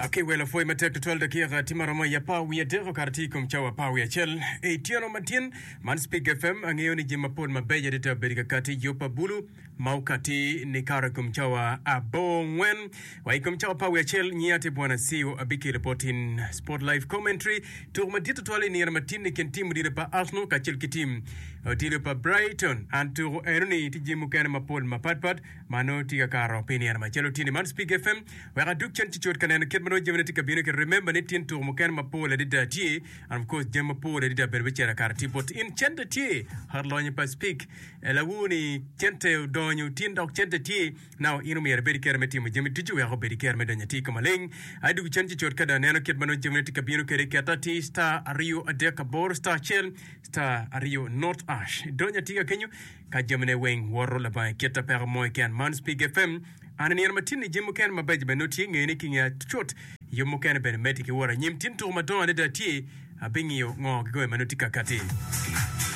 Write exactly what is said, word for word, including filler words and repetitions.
Aki welo pwoy matek tutwal dakika tye maromo i apar wiye adek okato tye i kom cawa apar wiye acel i tyeno matin. Man Speak F M angeyo ni jami mapol mabeco adada obedo ka kati i yub pa bulu ma okati nikato i kom cawa abongwen wa i kom cawa apar wiye acel. Nyiya tye Bwana Siu abikelo bot in Sport Live Commentary tuko madit tutwal i nino matin i kin tim odilo pa Arsenal kacel ki tim odilo pa Brighton. An tuko enoni tye jami mukene mapol mapatpat ma nongo tye ka kato pi nino macalo tye ni. Man Speak F M wek adug cen cucut ka neno kit ma nongo jamine tye ka bino ki. Remember ni tin tuko mukene mapol adada tye, and of course jami mapol adada bene bicito akara tye bot in. Cente tye ot lonyo pa Speak lawu ni cente odonyo tin dok cente tye. Now in omyero ibed ki kero me timo jami ducu wek obed ki kero me donyo atir ka maleng. Adug cen cucut ka dong aneno kit ma nongo jamine tye ka bino kwede. Ket atir star aryo adek aboro star acel star aryo not ash. Donyo atir ka kenyo ka jamine weng woto labongo kita peko mo keken. Man Speak F M an i nino ma tin-ni jami mukene mabeco bene nongo tye. Nge ni ki nge cut yub mukene bene medde ki wot anyim. Tin tuko madongo adada tye. Abingiyo ngo kikome ma nongo tye ka kati.